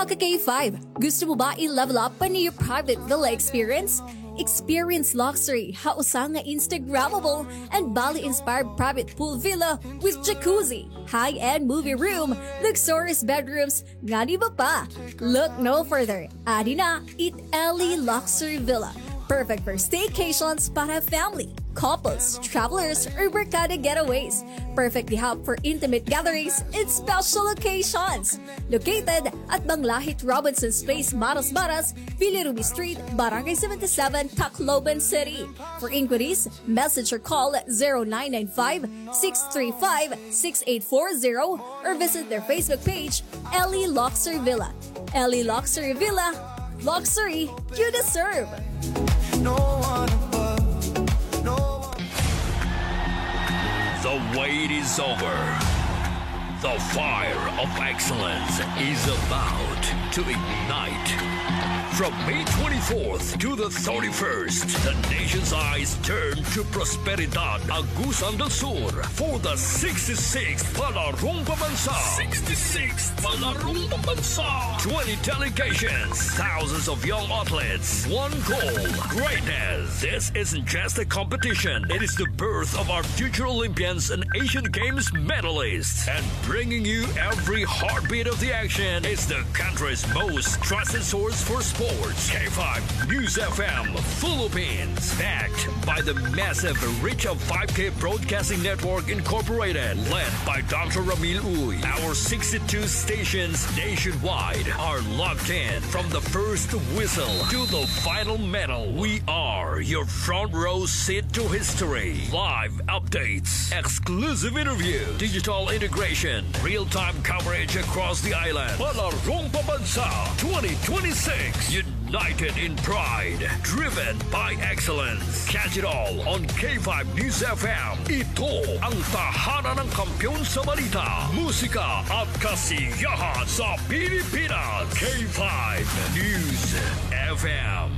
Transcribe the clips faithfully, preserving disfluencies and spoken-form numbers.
Ka K five, gusto mo ba i-level up pa an iyo private villa experience? Experience luxury ha usa nga Instagrammable and Bali-inspired private pool villa with jacuzzi, high-end movie room, luxurious bedrooms, ngan iba pa. Look no further. Adi na it Ellie Luxury Villa. Perfect for staycations para family, couples, travelers, or barkada getaways. Perfect di hub for intimate gatherings and special occasions. Located at Banglahit Robinson's Place, Maras Maras, Villa Ruby Street, Barangay seventy-seven, Tacloban City. For inquiries, message or call zero nine nine five, six three five, six eight four zero or visit their Facebook page, Ellie Luxury Villa. Ellie Luxury Villa, luxury you deserve. No one above, no one. The wait is over. The fire of excellence is about to ignite. From May twenty-fourth to the thirty-first, the nation's eyes turn to Prosperidad, Agusan del Sur, for the sixty-sixth Palarong Pambansa. Sixty-sixth Palarong Pambansa. Twenty delegations, thousands of young athletes, one goal, greatness. This isn't just a competition. It is the birth of our future Olympians and Asian Games medalists. And bringing you every heartbeat of the action is the country's most trusted source for sports. K five News F M Philippines. Backed by the massive reach of five K Broadcasting Network Incorporated, led by Doctor Ramil Uy. Our sixty-two stations nationwide are locked in. From the first whistle to the final medal, we are your front row seat to history. Live updates, exclusive interview, digital integration, real-time coverage across the island. Palarong Pambansa twenty twenty-six. United in pride, driven by excellence. Catch it all on K five News F M. Ito ang tahanan ng kampiyon sa balita, musika at kasiyahan sa Pilipinas. K five News F M.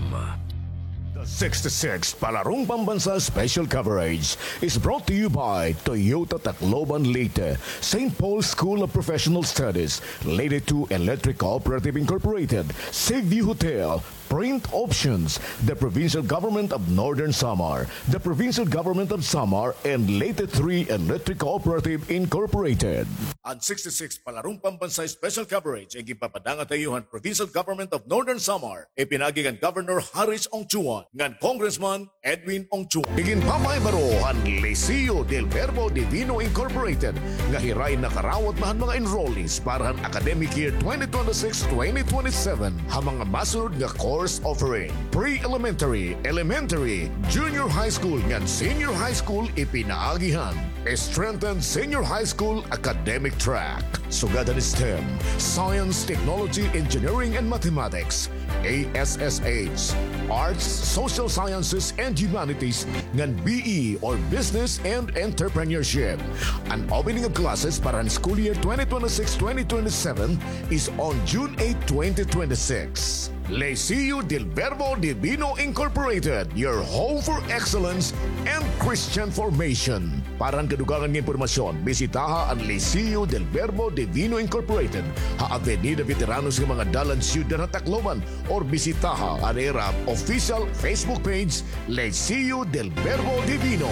The sixty-sixth Palarong Pambansa Special Coverage is brought to you by Toyota Tacloban Leyte, Saint Paul School of Professional Studies, Leyte two Electric Cooperative Incorporated, Seaview Hotel, Print Options, the Provincial Government of Northern Samar, the Provincial Government of Samar, and Leyte three Electric Cooperative Incorporated. An sixty-sixth Palarong Pambansa Special Coverage ay ginpapadala ha iyo han Provincial Government of Northern Samar, ipinaagi kan Governor Haris Ongchuan, ngan Congressman Edwin Ongchuan. Iginpapahibaro han Liceo del Verbo Divino Incorporated nga hirain nakarawat na han mga enrollees para han academic year twenty twenty-six twenty twenty-seven ha mga masunod nga course offering: pre-elementary, elementary, junior high school ngan senior high school ipinaagi han Strengthen Senior High School academic track. Sugad han STEM, Science, Technology, Engineering, and Mathematics, A S S H, Arts, Social Sciences, and Humanities, ngan B E or Business and Entrepreneurship. An opening of classes para han school year twenty twenty-six twenty twenty-seven is on June eight, twenty twenty-six. Liceo del Verbo Divino Incorporated, your home for excellence and Christian formation. Para han kadugangan nga impormasyon, bisitaha an Liceo del Verbo Divino Incorporated ha Avenida Veteranos nga mga dalan, Syudad ha Tacloban, or bisitaha an ira official Facebook page, Liceo del Verbo Divino.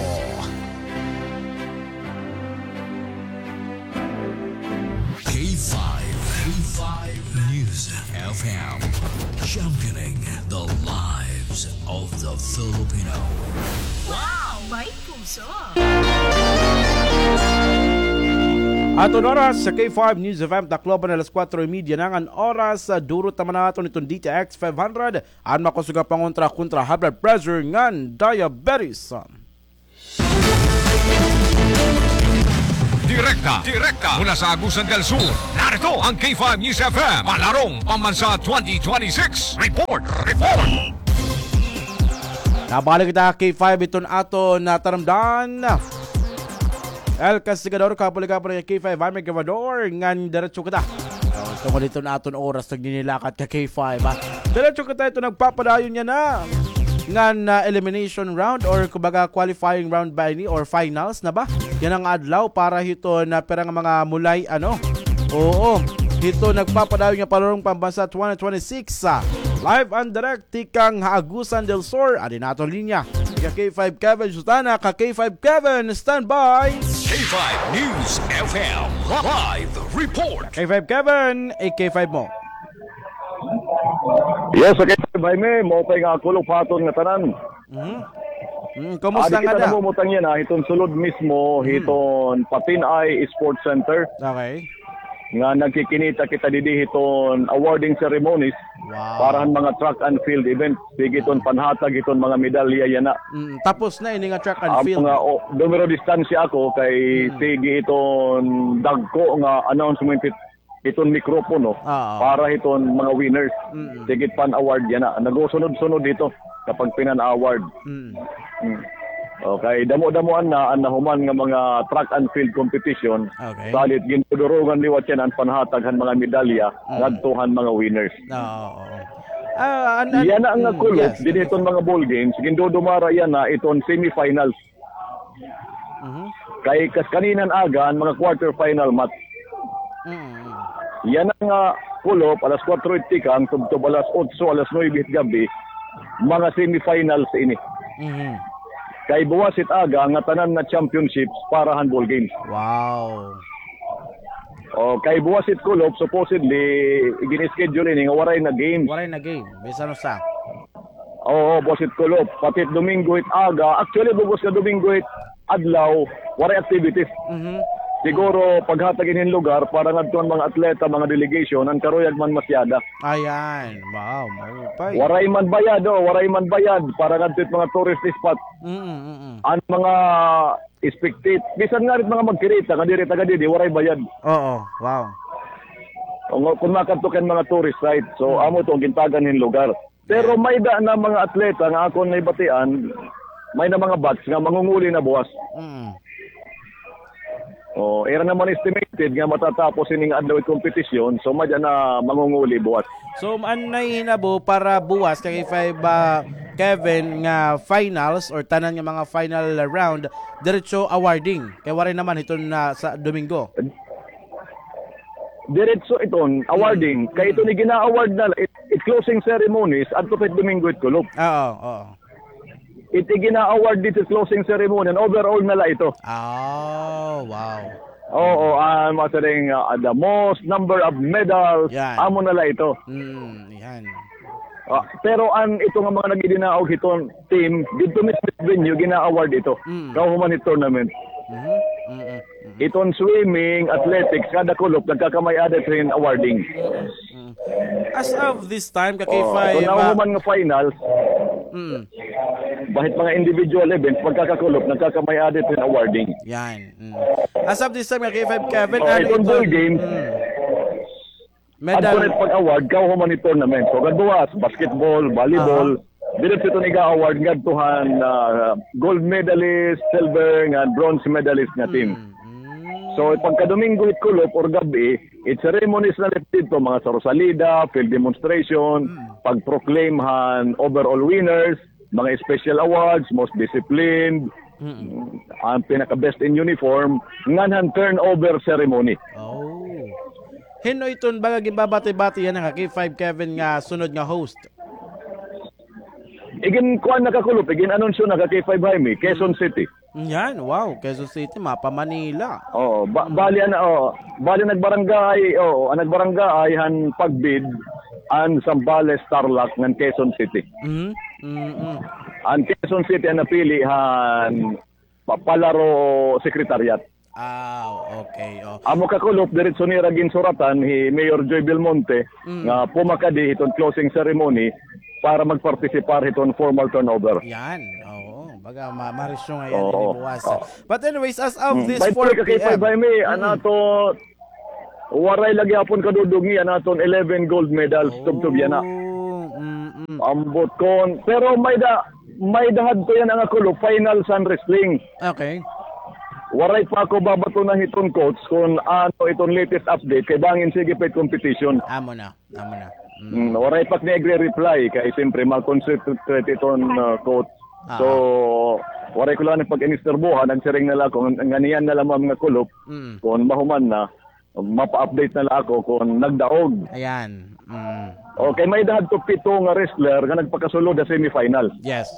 K five, K five News F M, championing the lives of the Filipino. Wow! May puso! Aton oras sa K five News F M Tacloban, alas kuwatro y media na ngan oras. Sa durot naman naton iton D T X five hundred, an makusog nga pangontra kontra high blood pressure ngan diabetes. Direkta, direkta mula sa Agusan del Sur, narito ang K five News F M, Palarong Pambansa twenty twenty-six. Report, report. Nabalik kita K five, iton aton nataramdan. El Castigador, kabulig-kabulig K five, Jaime Gravador, ngan diretso kita. So, tungod iton aton oras, nagninilakat ka K five, ha. Diretso kita, ito nagpapadayon niya na ngan, ah, elimination round or kumbaga qualifying round ba ini or finals na ba? Yana nga adlaw para hiton pira nga mga mulay, ano? Oo. hito nagpapadayon nga Palarong Pambansa twenty twenty-six, ah, live and direct tikang ha Agusan del Sur. Adi na aton linya. Ka K five Kevin Sutana, ka K five Kevin, standby. K five News F M live report. K five Kevin, i-K five mo. Yes, okay, Jaime, maupay nga kulop ha aton nga tanan. Mhm. Mm, kumusta nga da? Adi kita namumutang yana, hiton sulod mismo, hiton Patinay Sports Center. Okay. Nga nagkikinita kita didi hiton awarding ceremonies para han mga track and field event. Sige hiton panhatag hiton mga medalya yana. Mm, tapos na ini nga track and field. Mga, o, dumiro distansya ako kay sige hiton dagko nga announcement hit-, hiton mikropono para hiton mga winners. Sige pan award yana. Nagusunod-sunod hito kapag pinan-award. Mm. Okay, damo-damoan na an nahuman nga mga track and field competition. Okay. Salit, gindudurongan liwat yana an panhatag han mga medalya ngadto han mga winners. Oo, oo. Ah, an-, an-, yana nga kulop, yes, didi hiton mga ball games, gindudumara yana iton semifinals. Mhm. Kay kas-, kaninang aga, an mga quarter final match. Mm, mm. Yana nga kulop, alas kuwatro hit tikang, tubtob alas otso, alas nuwebe hit gab-i, mga semifinals ini. Mhm. Kay buwas hit aga, ngatanan na championships para han ball games. Wow. O, kay buwas hit kulop, supposedly, gin-schedule ini nga waray na games. Waray na game, bisan usa. Oo, buwas hit kulop. Pati hit Domingo hit aga. Actually, bug-os nga Domingo hit adlaw, waray activities. Mhm. Siguro, paghatag ini hin lugar para ngadto han mga atleta, mga delegation, an karuyag man masyada. Ayan. Wow, maupay. Waray man bayad, o, waray man bayad para ngadto hit mga tourist spot. Mm, mm, mm. An mga spectate-, bisan ngani hit mga magkirita nga diri taga didi, waray bayad. Oo, wow. O, nga, kon makadto ka hin mga tourist site, so, amo to an gintagan hin lugar. Pero may-ada na mga atleta nga akon nahibatian, may-ada mga batch nga mangunguli na buwas. Mm. O, ira naman estimated nga matatapos ini nga adlaw it kompetisyon, so may-ada na mangunguli buwas. So, an nahihinabo para buwas, ka K five, ah, Kevin, nga finals or tanan nga mga final round, diretso awarding. Kay waray naman hiton na sa Domingo. Diretso iton awarding. Mm. Kay iton igina-award na, it, it closing ceremonies, adto pa it Domingo it kulop. Oo, oo. It igina-award dito closing ceremony, an overall na la ito. Oh, wow. Oo, ah, masiring, ah, the most number of medals, amo na la ito. Mm, yan. Ah, pero an ito nga mga nagidinaog hiton team, didto mismo venue, gina-award ito. Mm. Kauhuman hit tournament. Mhm, mm, mm, mm. Iton swimming, athletics, kada kulop, nagkakamay-ada ito hin awarding. Mm, mm. As of this time, ka K five, ah, iton nahuman nga finals, mm, bahit mga individual events, pagkakakulop, nagkakamay-ada ito hin awarding. Yan. Mm. As of this time, ka K five, Kevin, ano iton ball games, mm. Medal. Adto na it pag-award, kauhuman hit tournament. So, kadbuwas, basketball, volleyball. Aha. Diretso iton iga-award ngadto han, ah, gold medalist, silver, ngan bronze medalist nga team. Mm, mm. So, pagka Domingo hit kulop or gab-i, it ceremonies na la didto, mga Sarosalida, field demonstration, pag-proclaim han overall winners, mga special awards, most disciplined, mm-mm, an pinaka-best in uniform, ngan han turnover ceremony. Oh. Hin-o iton baga ginbabati-bati yana ka K five Kevin nga sunod nga host? Igin-kuan na ka Kulop, igin-anunsyo na ka K five Jaime, Quezon City. Yan, wow, Quezon City, mapa Manila. Oo, ba-, bali an, oo, bali nagbarangay, oo, an nagbarangay han pag-bid, an Zambales, Tarlac, ngan Quezon City. Mm, mm, mm. An Quezon City an napili han pa-, Palaro Secretariat. Ah, okay, oh. Amo ka Kulop, diretso nira ginsuratan hi Mayor Joy Belmonte, mm, nga pumakadi hiton closing ceremony para magpartisipar hiton formal turnover. Yan, oo. Baga ma-, marisyo nga yan, oo, ini buwas. Oo. But anyways, as of, mm, this by the way, four P M, ka K five Jaime, mm, an ato, waray la gihapon kadudungi an aton eleven gold medals, oh, tubtob yana. Mm, mm. Ambot kon, pero may-ada, may-ada hadto yana nga Kulop, finals han wrestling. Okay. Waray pa ako babatuna hiton coach kon ano iton latest update, kay bangin sige pa it competition. Amo na. Amo na. Mm. Mm, waray pa ak nagre-reply kay siyempre ma-concentrate iton, uh, coach. Ah. So, waray ko la nagpag-inisturbohan, nagsiring na la ako, ngan-, ngan-, nganiyan na la, ma'am, nga Kulop, mm, kon mahuman na, mapa-update na la ako kon nagdaog. Ayan. Mm. Okay, may-ada hadto pito nga wrestler nga nagpakasulod ha semifinals. Yes.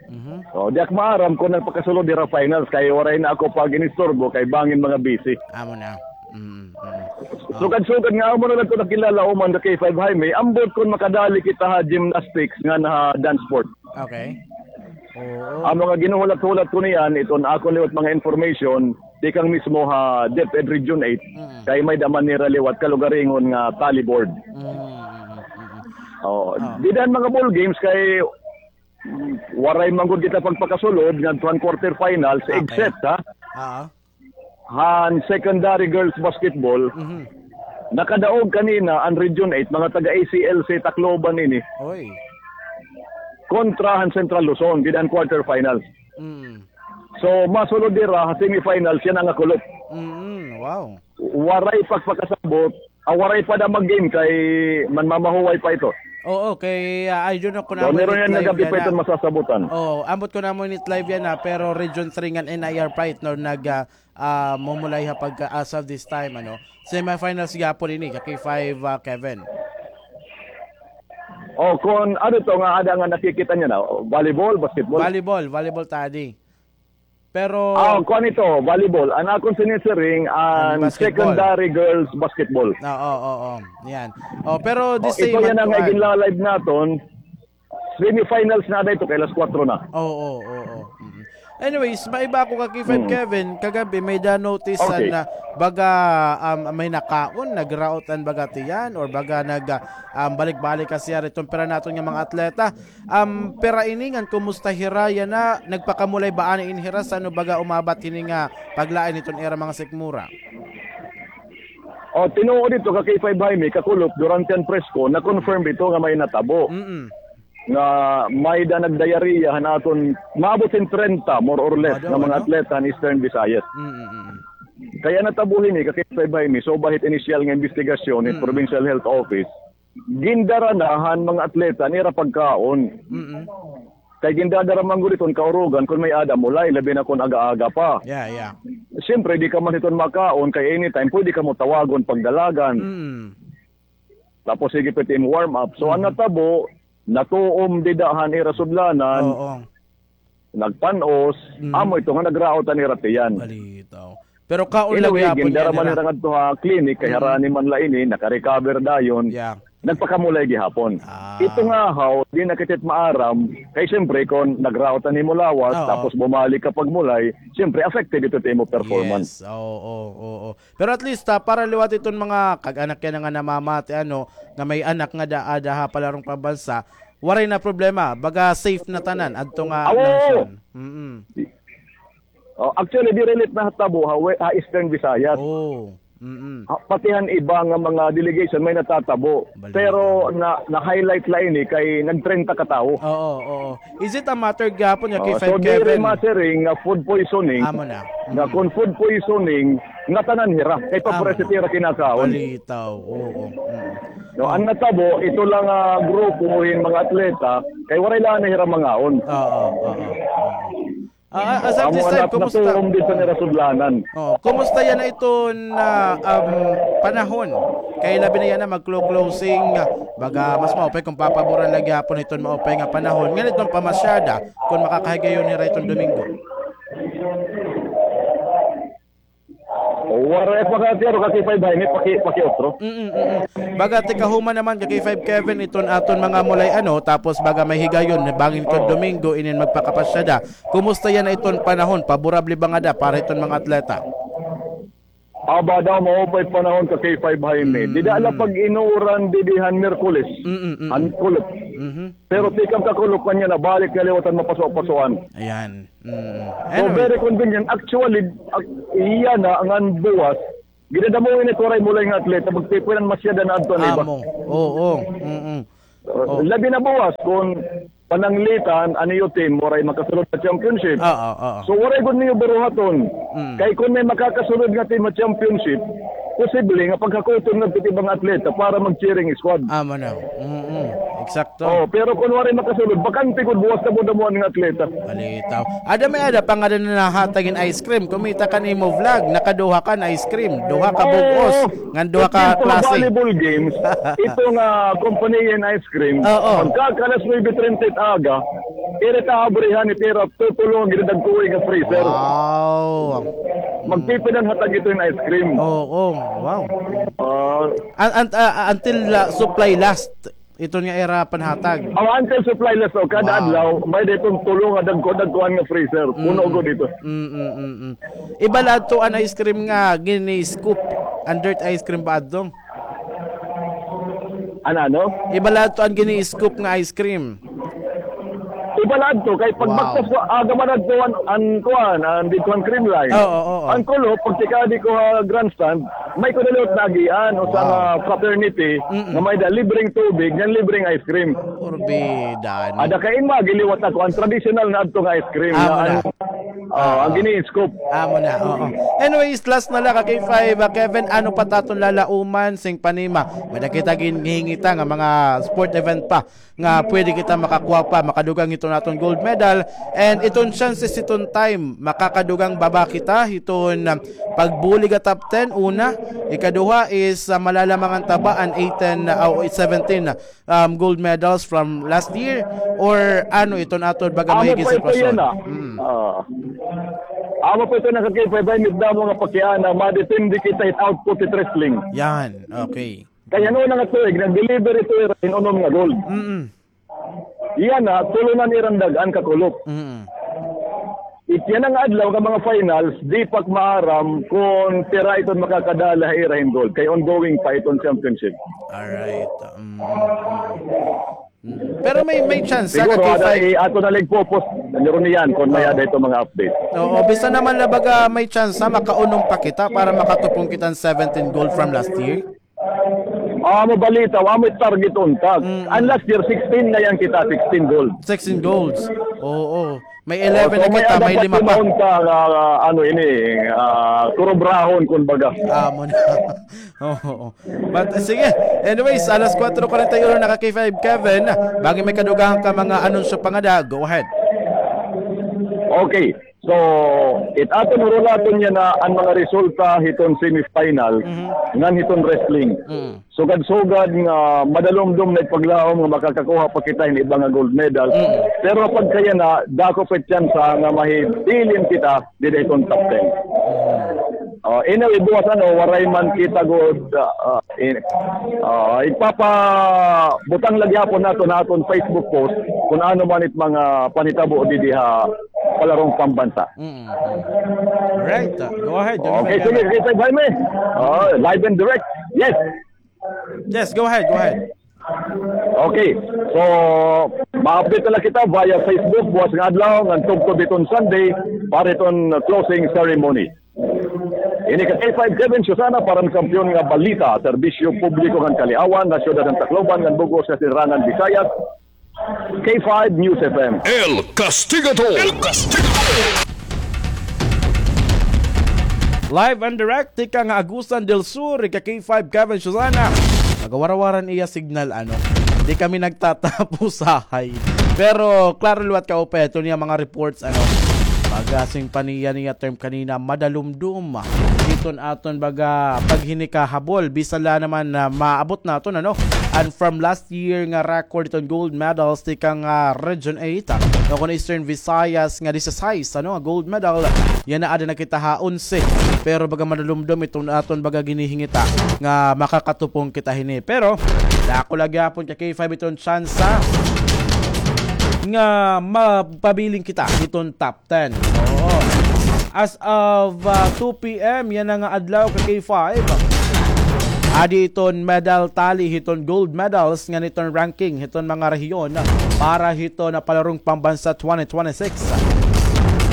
Mhm. O, di ak maaram kon nagpakasulod hira finals kay waray na ako pag-inisturbo kay bangin mga busy. Amo na. Mm, mm. O. Sugad-sugad nga amo na la ito nakilala, Oman, ka K five Jaime, ambot kon makadali kita ha gymnastics ngan ha dance sport. Okay. Oo. An mga ginhuhulat-hulat ko niyan, iton akon liwat mga information, tikang mismo ha DepEd Region eight, Mm. kay may-ada man nira liwat kalugaringon nga tally board. Mm, mm, mm, mm. Oo. Ah. Dida han mga ball games kay, mm, waray man gud kita pagpakasulod ngadto han quarterfinals, Okay. except, ha? Ah. Han secondary girls basketball, Mhm. nakadaog kanina an Region eight, mga taga A C L C Tacloban ini. Oy. Kontra han Central Luzon, dida han quarterfinals. Mm. So, masulod dira ha semifinals, yana nga kulop. Mm, wow. Waray pagpakasabot, ah, waray pa da mag-game kay manmamahuway pa ito. Oo, kay, ah, I don't know kon So, amo meron init yan nga live gabi pa yana. Ito masasabutan. Oo, ambot kon amo init live yana, pero Region three ngan N I R pa it, no, nag, ah, ah, mumulay ha pagka, as of this time, ano. Semifinals gihapon ini, ka K five, ah, Kevin. O, kon ano to nga ada nga nakikita niyo na, volleyball, basketball? Volleyball, volleyball tadi. Pero Ah, kuan ito, volleyball. An akon sinisiring, An an basketball. secondary girls basketball. Oo, oo, oo. Yan. O, pero the O, same ito yan an ang kuan. Ginla-live naton. Semifinals na da ito, kay alas kwatro na. Oo, oo, oo. Mm. Anyways, maiba ako ka K five Mm. Kevin, kagabi may da notice Okay. na baga, um, may nakaon, nagraot an baga tiyan, or baga nag, ah, um, balik-balik kasi yari itong pira naton nga mga atleta. Um, pira ini ngan kumusta hira yana, nagpakamulay ba ani in hira sa ano baga umabat hini nga paglain iton ira mga sikmura? O, tinuod ito ka K five Jaime, kakulop, durante an press ko, na-confirm ito nga may natabo. Mm-mm. Nga may da nag-diarrhea han aton, maabot hin trenta, more or less, Mada, nga mga ano? atleta han Eastern Visayas. Mm-mm. Kay an natabo hini, ka K five Jaime, so bahit initial nga investigasyon, Mm. Provincial Health Office, gindara na han mga atleta an ira pagkaon. Mm-mm. Kay gindadara man gud iton kaurugan kon may-ada mulay, labi na kon aga-aga pa. Yeah, yeah. Siyempre, di ka man hiton makaon, kay anytime, pwede ka mo tawagon pagdalagan. Mm. Tapos, sige pa it imo warm up. So, an Mm. natabo, natuom dida han ira sudlanan, Oo. nagpan-os, Mm. amo ito nga nagraot an ira tiyan. Balitaw. Pero kaon Anyway, lagi hapon gindara niya man nila. nira ngadto ha clinic, kay Mm. harani man la ini, naka-recover dayon. Yeah. Nagpakamulay gihapon. Ah. Ito nga haw, di na kita maaram. Kay siyempre, kon nagraot an imo lawas, Oo. tapos bumalik ka pagmulay, siyempre, affected ito sa imo performance. Yes. Oo, oo, oo. Pero at least, ah, para liwat iton mga kag-anak yana nga namamati, ano, nga may anak nga da-, ada ha palarong pambansa, waray na problema. Baga safe na tanan, adto nga Ah, oo. nasyon. Mm-mm. Oh, actually, diri la ito nahatabo ha, we-, ha Eastern Visayas. Oh, mm-mm. Ha, pati han iba nga mga delegation may natatabo. Balita. Pero na, na-highlight la ini kay nag-trenta ka tawo. Oo, oo. Is it a matter gihapon nga Oh, kay so, five diri Kevin? masiring nga food poisoning. Amo na. Nga Mm. kung food poisoning, nga tanan hira. Kay Amo pares na. ito hira kinakaon. Balitaw. Oo. Mm. No, ang natabo, ito lang, ah, grupo hin mga atleta, kay waray lang na hira mangaon. Oo, oo, oo. Ah, as of Amo this time, anak na kumusta? turom dito ni Rasudlanan. Oh, kumusta yana iton, ah, um, panahon? Kay labi na yana mag-clo-, closing, ah, baga mas maupay kung papaboran la gihapon iton maupay nga panahon. Ngan iton pamasyada, kung makakahigayon hira iton Domingo. Waray pa ka, pero ka K five Jaime, paki-, pakiutro. Mm, mm, mm. Baga, tikahuman naman, ka K five Kevin, iton aton mga mulay, ano, tapos baga may higayon, bangin iton Oo. Domingo, inin magpakapasyada. Kumusta yana iton panahon? Paborable ba ngada para iton mga atleta? Aba daw, maupay panahon ka K five Jaime. Mm. Dida la pag-inuran didi han Miyerkules. Mm, mm, mm. Han kulop. Mhm. Pero tikang kakulop kanya na balik nga liwat han mapaso-pasoan. Ayan. Mm. So, Anyway. very convenient. Actually, ak-, iya na, ngan buwas, ginadamo ini waray mulay nga atleta, magtipunan masyada na adto an iba. Amo. Oo. Mm-mm. Uh, Oo. labi na buwas, kung pananglitan, an iyo team, waray makasulod sa championship. Oo, oo. So, waray gud niyo buruhaton. Mm. Kay kung may makakasulod nga team sa championship, posible nga paghakuton nga piti mga atleta para mag-cheering squad. Amo na. Mm-mm. Eksakto. Oh, pero kun waray makasulod, bakante gud buwas na pud an mga atleta. Balitaw. Ada may ada pa nga ada na nahatag hin ice cream. Kumita kan imo vlog, nakaduha kan ice cream. Duha ka bug-os. Oo. Ngan duha ka klase. Volleyball games, ito nga company hin ice cream. Oo. Pagka alas nuebe treinta aga, ira ta abrihan, ira tutulo nga ginadagkoy nga freezer. Wow. Magpipila an hatag ito hin ice cream. Oo, wow. Ah. Un-, un-, ah, until, ah, supply last. Ito nga ira panhatag. Oh, until supply last, oh, kada adlaw, may-ada iton tulo nga dagko-dagkoan nga freezer. Puno gud ito. Mm, mm, mm, mm. Iba la adto an ice cream nga gini-scoop. An dirt ice cream ba adto? An ano? Iba la adto an gini-scoop nga ice cream. Iba la adto, kay pag bagtas ko, aga man adto an, an kuan, an didto an Creamline. Oo, oo, oo. An kulop, pagtikadi ko ha grandstand, may ko na liwat naagian, usa nga fraternity, nga may-ada libreng tubig, ngan libreng ice cream. Porbida, no? Ada kay ima, giliwat ako, an traditional na adto nga ice cream, ah, na muna. An, ah, an gini-scoop. Amo na, oo. Anyways, last na la ka K five, ah, Kevin, ano pa it aton lalauman, sing panima? May-ada kita ginhihingita nga mga sport event pa nga pwede kita makakuha pa, makadugang hiton aton gold medal. And iton chances hiton time, makakadugang ba ba kita hiton, ah, pagbulig ha top ten, una. Ikaduha is, ah, malalamangan ta ba an eighteen, ah, o seventeen, um, gold medals from last year, or ano iton aton baga mahigit sitwasyon? Amo pa ito na. Mm. Ah. Amo pa ito na ka K five, ay, may damo nga pakiana, madepende kita it output it wrestling. Yan, okay. Kay an una nga tuig, nag-deliver ito ira hin unom nga gold. Mm. Yana, tulo na an ira nadag-an ka kulop. Mm. It yana nga adlaw nga mga finals, di pa maaram kon pira iton makakadala ha ira hin gold. Kay ongoing pa iton championship. Alright. Mm, mm, mm. Pero may, may chance, siguro, ka K five. Ato na la igpo-post, meron niyan, kon may-ada iton mga update. Oo, bisan naman na baga may chance, makaunom pa kita para makatupong kita hin seventeen gold from last year. Ah, amo balita, amo it target unta. Mm. An last year, sixteen na yana kita, sixteen gold. Sixteen golds. Oo. May eleven na kita, may lima pa. Unta nga, ah, ano ini, ah, kurubrahon, kumbaga. Amo na. Oo. But, ah, sige. Anyways, alas kuwatro kuwarenta y uno na ka K five, Kevin. Bangin may kadugang ka mga anunsyo pa ngada, go ahead. Okay. So, it aton hurulaton yana an mga resulta hiton semifinal, ngan hiton wrestling. Sugad-sugad nga madalumdom na it paglaom nga makakakuha pa kita hin iba nga gold medal. Pero pagkayana, dako pa it tsansa nga mahibilin kita dida hiton top ten. Oh, anyway, buwas ano, waray man kita gud, ah, ah, in-, ah, ipapabutang la gihapon naton ha aton Facebook post kon ano man it mga panhitabo didi ha palarong pambansa. Mm, mm. Right. Uh, go ahead. Okay, sige, sige, Sir Jaime. Oh, live and direct. Yes. Yes, go ahead, go ahead. Okay. So, ma-update na la kita via Facebook, buwas nga adlaw, ngan tubtob hiton Sunday, para hiton closing ceremony. Ini ka K five Kevin Susana para han Kampiyon nga Balita, Serbisyo Publiko ngan Kaliawan, ha Syudad han Tacloban, ngan bug-os nga Silangan Visayas, K five News F M. El Castigador. El Castigador. Live and direct, tikang ha Agusan del Sur, ika K five Kevin Susana. Magawarawaran iya signal, ano. Di kami nagtatapos, sahay. Pero, klaro liwat kaupay, ito niya mga reports, ano. Baga sing paniya niya term kanina, madalumdom. Iton aton baga paghinikahabol. Bisan la naman na maabot naton, ano. And from last year nga record iton gold medals tikang, ah, Region eight, ah, o kon Eastern Visayas nga disisais, ano, gold medal. Yana ada na kita ha onse. Pero baga madalumdom iton aton baga ginhihingita nga makakatupong kita hini. Pero dako la gihapon ka K five iton tsansa nga mapabilin kita iton top ten. Oo. As of, ah, two P M yana nga adlaw ka K five, adi iton medal tally hiton gold medals ngan iton ranking hiton mga rehiyon para hiton, ah, Palarong Pambansa twenty twenty-six.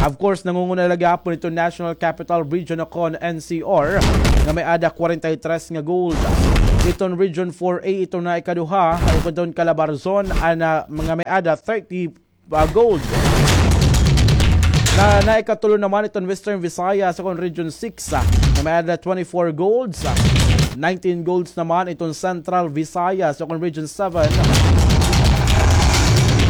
Of course, nangunguna la gihapon iton National Capital Region o kon N C R nga may-ada kwarenta y tres nga gold. Iton Region four A iton naikaduha, iton Calabarzon, an, ah, nga may-ada thirty ah, gold. Na, naikatulo naman iton Western Visayas, o kon Region six, ah, nga may-ada twenty-four golds, ah. Nineteen golds naman iton Central Visayas, o kon Region seven.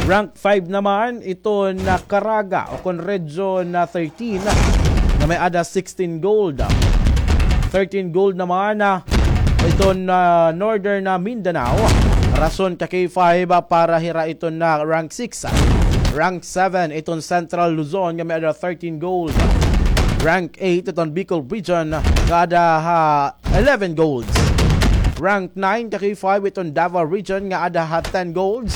Rank five naman iton Caraga o kon Region thirteen nga may-ada sixteen gold. Thirteen gold naman iton Northern Mindanao. Rason ka K five para hira iton rank six. Rank seven iton Central Luzon nga may-ada thirteen gold. Rank eight iton Bicol Region nga ada ha eleven golds. Rank nine ka K five iton Davao Region nga ada ha ten golds.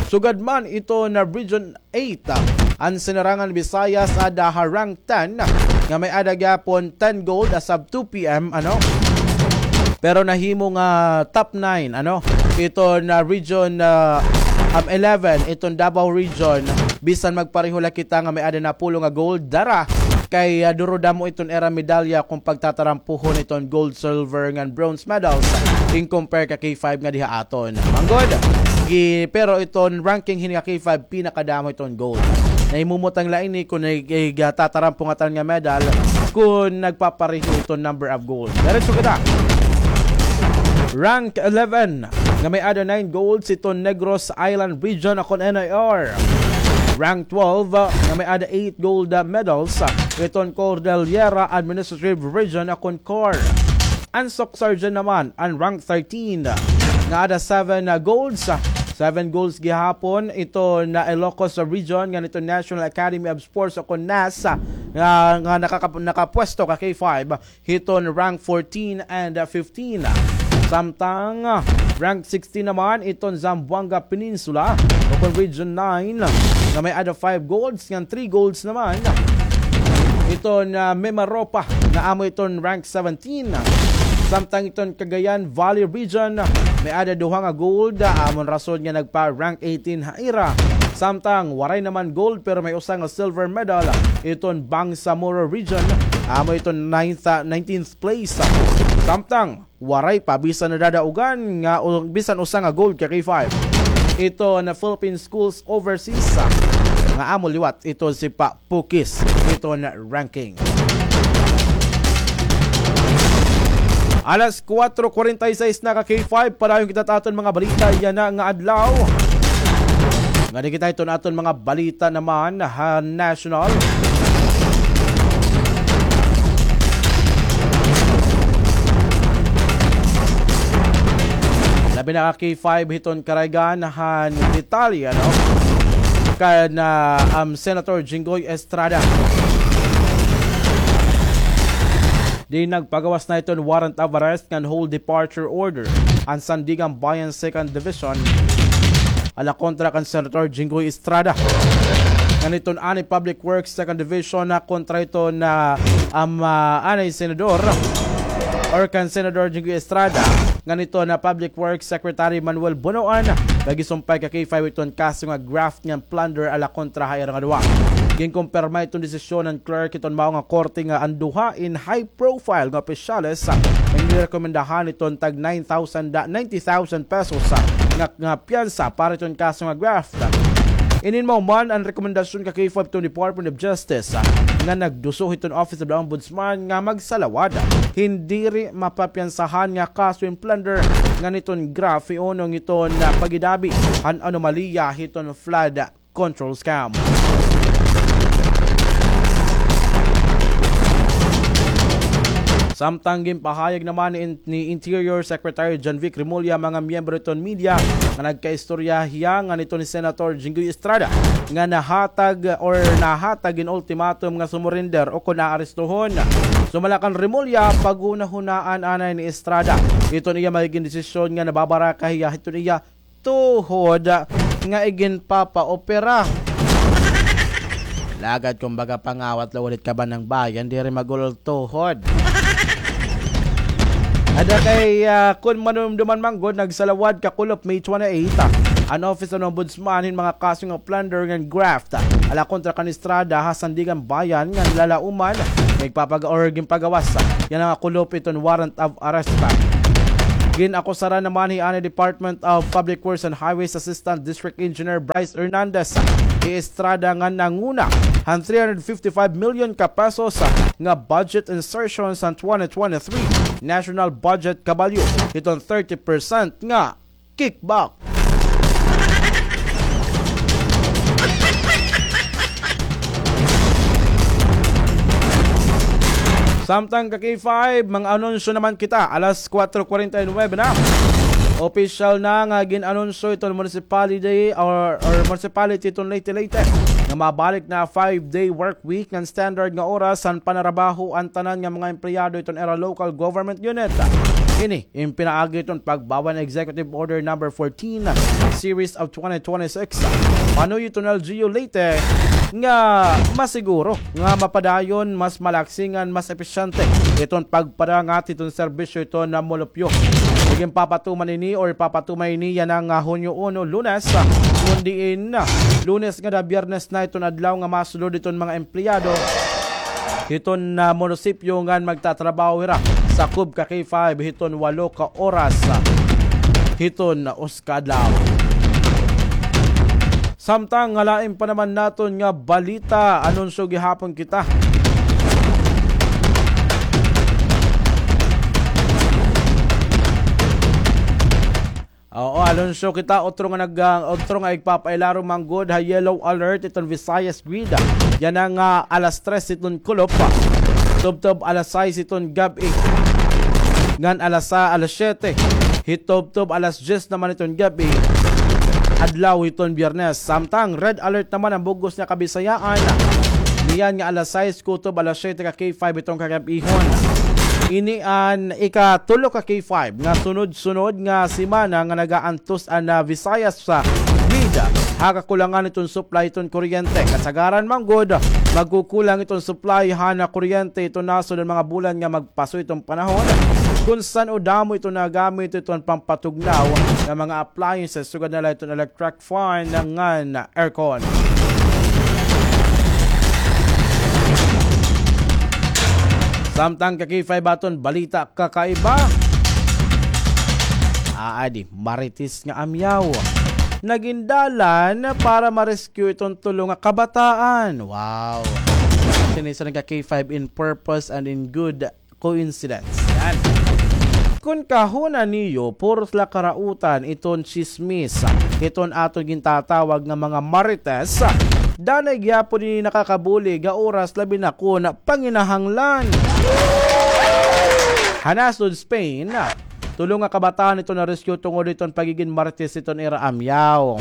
Sugad man iton Region eight, an Sinirangan Visayas ada ha rank ten nga may-ada gihapon ten gold as of two P M, ano? Pero nahimo nga top nine, ano? Iton Region eleven, iton Davao Region, bisan magpareho la kita nga may-ada napulo nga gold, dara kay duro damo iton ira medalya kon pagtatarampuhon iton gold, silver ngan bronze medals in compare ka K five nga diha aton. Manggod, pero iton ranking hini ka K five pinakadamo iton gold. Nahimumutang la ini kon nagtatatarampo ngatan nga medal kon nagpapareho iton number of gold. Diretso kita. Rank eleven nga may-ada nine golds iton Negros Island Region akon N I R. Rank twelve nga may-ada eight gold medals iton Cordillera Administrative Region akon COR. An Soccsksargen naman an rank thirteen nga ada seven golds. Seven golds gihapon iton Ilocos Region ngan iton National Academy of Sports akon NAS nga nakapwesto ka K five hiton rank fourteen and fifteen. Samtang rank sixteen naman iton Zamboanga Peninsula ukon Region nine nga may-ada five golds ngan three golds naman iton Mimaropa nga amo iton rank seventeen. Samtang iton Cagayan Valley Region may-ada duha nga gold, amon rason nga nagpa-rank eighteen ha ira. Samtang waray naman gold pero may usa nga silver medal iton Bangsamoro Region, amo iton ninth, nineteenth place. Samtang waray pa bisan nadadaugan nga bisan usa nga gold ka K five iton Philippine Schools Overseas nga amo liwat iton si Pa Pukis iton ranking. Alas kuwatro kuwarenta y seis na ka K five, padayon kita ta aton mga balita yana nga adlaw. Ngadi kita iton aton mga balita naman ha national. Labi na ka K five hiton karaygan han detalye, ano? Kan Senator Jinggoy Estrada. Di nagpagawas na iton warrant of arrest ngan hold departure order an Sandiganbayan Second Division ala kontra kan Senator Jinggoy Estrada. Ngan iton anay Public Works Second Division na kontra iton anay senador or kan Senador Jinggoy Estrada ngan iton Public Works Secretary Manuel Bonoan, nagisumpay ka K five iton kaso nga graft ngan plunder ala kontra ha ira nga duha. Ginkumpirma iton desisyon han clerk iton mao nga korte nga an duha in high profile nga opisyales nga ginrekomendahan iton tag nine thousand, ninety thousand pesos nga, nga piyansa para iton kaso nga graft. Inin mao man an rekomendasyon ka K five iton Department of Justice nga nagduso hiton Office of the Ombudsman nga magsalawad hin diri mapapiyansahan nga kaso hin plunder ngan iton graft hiunong iton paghidabi han anomalya hiton flood control scam. Samtang ginpahayag naman ni, ni Interior Secretary John Vic Remulla mga miyembro hiton media nga nagkaistorya hiya ngan iton ni Senator Jinggoy Estrada nga nahatag or nahatag hin ultimatum nga sumurrender o kon aarestuhon. Sumala kan Remulla, paghunahunaan anay ni Estrada iton iya magigin desisyon nga nababaraka hiya hiton iya tuhod nga iginpapaopera. Lagad kumbaga pangawat la ulit kabanang bayan, diri magulol tuhod. Ada kay, ah, kun manumduman man gud, nagsalawad kakulop May twenty-eight, ah, an Office of Ombudsman hin mga kaso nga plunder ngan graft, ah, ala kontra kan Estrada ha Sandiganbayan ngan lalauman, nagpapaga-, or ginpagawas, ah, yana nga kulop iton warrant of arrest, ah. Gin-akusaran naman hi anay Department of Public Works and Highways Assistant District Engineer Bryce Hernandez hi Estrada nga nanguna han three hundred fifty-five million ka pesos nga budget insertions han twenty twenty-three national budget kabalyo hiton thirty percent nga kickback. Samtang ka K five, mga anunsyo naman kita, alas kwatro kwarenta y nuwebe na. Opisyal na nga gin-anunsyo iton municipality or, or municipality iton Leyte, Leyte nga mabalik na five-day work week ngan standard nga oras han panarabaho an tanan nga mga empleyado iton ira local government unit. Ini in pinaagi iton pagbaw han Executive Order Number fourteen, Series of twenty twenty-six, panuyo iton L G U Leyte, nga masiguro nga mapadayon, mas malaksingan, mas episyente iton pagpadangat iton serbisyo iton mulupyo. Ginpapatuman ini or ipapatuman ini yana nga Hunyo uno, Lunes, kun diin Lunes ngada Biyernes na iton adlaw nga masulod iton mga empleyado hiton, ah, munisipyo ngan magtatrabaho hira sakob ka K five hiton walo ka oras, ah, hiton usa ka adlaw. Samtang ha lain pa naman naton nga balita, anunsyo gihapon kita. Oo, anunsyo kita, otro nga nag-, ah, otro nga igpapailarom man gud ha yellow alert iton Visayas Grid. Yana nga alas tres iton kulop, tubtob alas sais iton gab-i. Ngan alas sa-, alas siyete, hitubtob alas dyes naman iton gab-i, adlaw hiton Biyernes. Samtang red alert naman an bug-os nga Kabisayaan. Niyan nga alas sais kutob alas siyete ka K five iton kagab-ihon. Ini an ikatulo ka K five nga sunod-sunod nga semana nga nagaantos an, ah, Visayas Grid ha kakulangan iton supply iton kuryente. Kasagaran man gud, magkukulang iton supply han kuryente iton nasod han mga bulan nga magpaso iton panahon, kun san-o damo iton nagamit iton pampatugnaw nga mga appliances, sugad na la iton electric fan ngan aircon. Samtang ka K five aton balita kakaiba. Aadi, Marites nga amyaw nagin dalan para ma-rescue iton tulo nga kabataan. Wow. Sinisan ka K five in purpose and in good coincidence. Yan. Kun kahuna niyo, puros la karautan iton tsismis, iton aton gintatawag nga mga marites, danay gihapon ini nakakabulig ha oras labi na kun panginahanglan. Ha nasod Spain, tulo nga kabataan iton na-rescue tungod iton pagigin marites iton ira amyaw.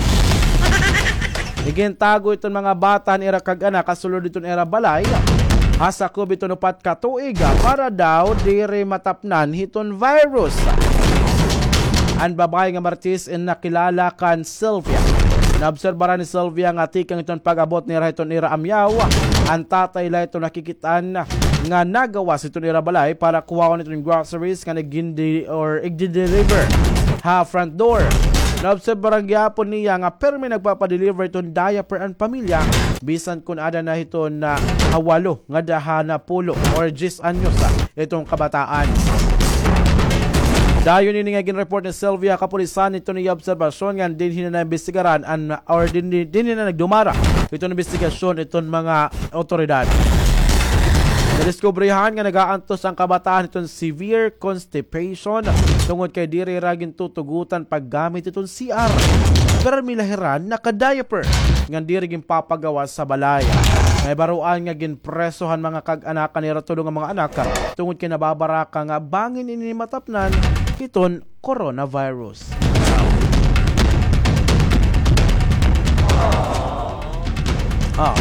Igintago iton mga bata han ira kag-anak ha sulod iton ira balay ha sakob iton upat ka tuig para daw diri matapnan hiton virus. An babaye nga marites in nakilala kan Sylvia. Naobserbaran ni Sylvia nga tikang iton pag-abot nira hiton ira amyaw, an tatay la iton nakikit-an nga nagawas hiton ira balay para kuhaon iton groceries nga nagindi-, or igdi-deliver ha front door. Naobserbaran gihapon niya nga pirmi nagpapa-deliver iton diaper an pamilya, bisan kun ada na hiton, ah, ha walo ngada ha napulo or diyes anyos, ah, iton kabataan. Dayon ini nga gin-report ni Sylvia ha kapulisan iton iya obserbasyon ngan dinhi na naimbestigaran an, or dinhi, dinhi na nagdumara iton imbestigasyon iton mga awtoridad. Nadiskubrihan nga nagaantos an kabataan hiton severe constipation tungod kay diri hira gintutugotan paggamit hiton C R. Pirmi la hira naka-diaper ngan diri ginpapagawas sa balay. Nahibaroan nga ginpreso han mga kag-anak an ira tulo nga mga anak tungod kay nababaraka nga bangin ini matapnan hiton coronavirus. Ah.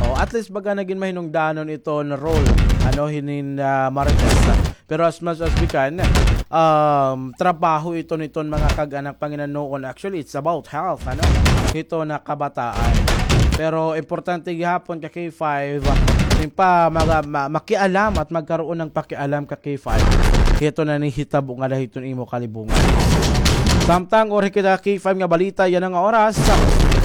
Oh, at least baga nagin mahinungdanon iton role, ano, hinin, ah, marites. Pero as much as we can, um, trabaho iton, iton mga kag-anak panginanoon. Actually, it's about health, ano, hiton kabataan. Pero importante gihapon ka K five, ah, pa maga-, ma-, makialam at magkaroon ng pakialam ka K five. Hiton nanhihitabo ngada hiton imo kalibungan. Samtang uri kita K five nga balita yana nga oras,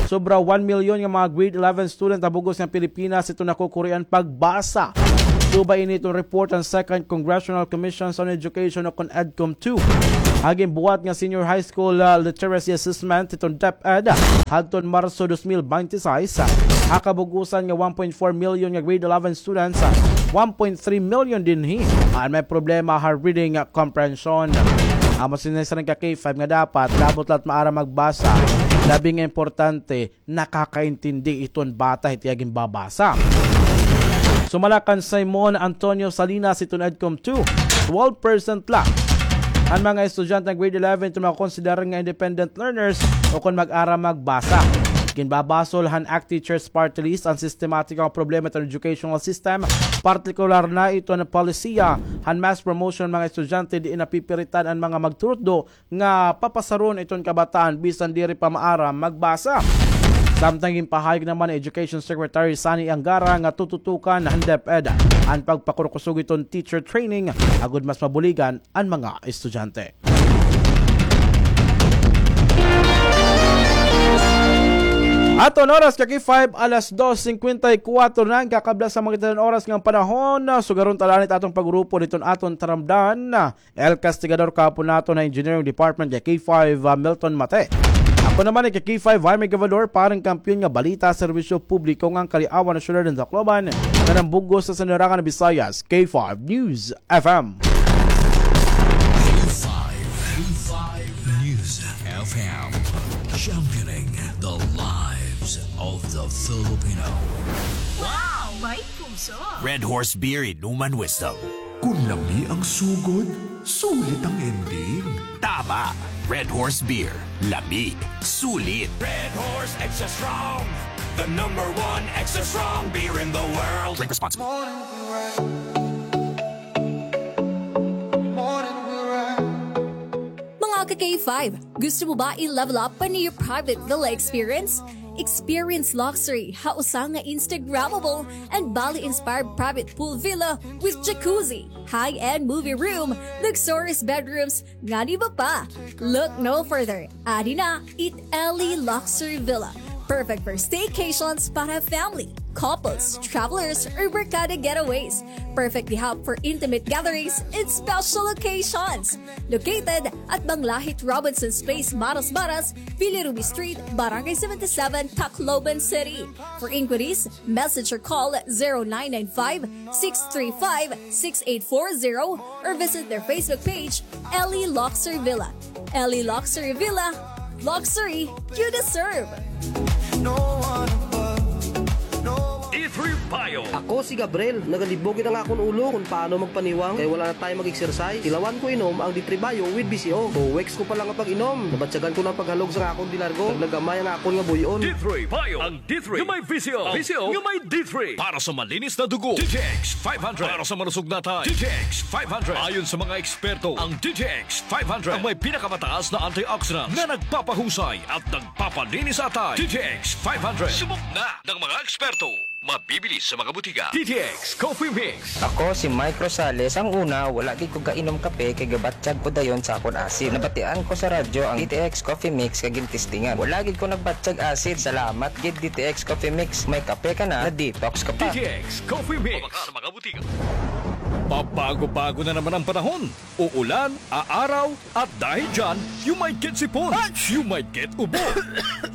sobra one million nga mga grade eleven student ha bug-os nga Pilipinas iton nakukurian pagbasa. Subay ini iton report han Second Congressional Commission on Education o kon EDCOM two. Ha ginbuhat nga Senior High School, ah, Literacy Assessment iton DepEd hadton Marso dos mil binte y seis, ha kabug-osan nga one point four million nga grade eleven students, one point three million dinhi an may problema ha reading comprehension. Amo sini sa ka K five nga dapat labot la it maaram magbasa, labi nga importante, nakakaintindi iton bata hit iya ginbabasa. Sumala kan Simon Antonio Salinas hiton EDCOM two, twelve percent la an mga estudyante nga grade eleven iton makokonsiderar nga independent learners o kon mag-ara magbasa. Ginbabasol han ACT Teachers Party List an sistematiko nga problema iton educational system, partikular na iton polisiya han mass promotion han mga estudyante diin napipiritan an mga magturutdo nga papasaron iton kabataan bisan diri pa maaram magbasa. Samtang ginpahayag naman ni Education Secretary Sonny Angara nga tututukan han DepEd an pagpakurkusog iton teacher training agod mas mabuligan an mga estudyante. Aton oras ka K five, alas dos singkwenta y kuwatro na an kakabla sa mga oras ngan panahon. Sugaron ta la an aton pag-urupo hiton aton taramdan. El Castigador, kaapo naton ha Engineering Department, kay K five, ah, Milton Mate. Ako naman kay K five, Jaime Gavador, para han kampiyon nga balita, serbisyo publiko ngan kaliawan ha syudad han Tacloban, ngan han bug-os nga Sandarangan Visayas, K five News F M. K five, K five News F M, championing the lives of the Filipino. Wow! May puso! Red Horse Beer, inuman wisdom. Kon lami ang sugod, sulit ang ending. Tama! Red Horse Beer. Lami. Sulit. Red Horse Extra Strong. The number one extra strong beer in the world. Drink responsibly. Mga ka-K five, gusto mo ba i-level up an iyo private villa experience? Experience luxury ha usa nga Instagrammable and Bali-inspired private pool villa with jacuzzi, high-end movie room, luxurious bedrooms, ngan iba pa. Look no further. Adi na it Ellie Luxury Villa. Perfect for staycations para family, couples, travelers, or barkada getaways. Perfect gihap for intimate gatherings and special occasions. Located at Banglahit Robinson's Place, Marasmaras, Villa Ruby Street, Barangay seventy-seven, Tacloban City. For inquiries, message or call zero nine nine five, six three five, six eight four zero or visit their Facebook page, Ellie Luxury Villa. Ellie Luxury Villa, luxury you deserve. D three Bio. Ako si Gabriel, nagalibog it ang akon ulo kon paano magpaniwang kay wala na tayo mag-exercise. Tilawan ko inom ang D three Bio with V C O. Two weeks ko pa lang nga pag-inom, nabatyagan ko na an paghalog sa akon delargo. Naglagamay ang akon nga buy-on. D three Bio. Ang D three nga may V C O. V C O nga may D three. Para sa malinis na dugo, D T X five hundred. Para sa malusog na atay, D T X five hundred. Ayon sa mga eksperto, ang D T X five hundred ang may pinakamataas na antioxidant na nagpapahusay at nagpapalinis sa atay. D T X five hundred. Subok na ng mga eksperto. Mabibili sa mga butika. D T X Coffee Mix. Ako si Mike Rosales. Ang una, wala gid ko kainom kape kay gabatyag ko dayon sa akon acid. Nabatian ko sa radyo ang D T X Coffee Mix kay gintestingan. Wala gid ko nagbatyag acid. Salamat gid D T X Coffee Mix. May kape ka na, na-detox ka pa. D T X Coffee Mix. Sa mga butika. Pabago-bago na naman ang panahon. Uulan, aaraw, at dahil dyan, you might get sipon, you might get ubo,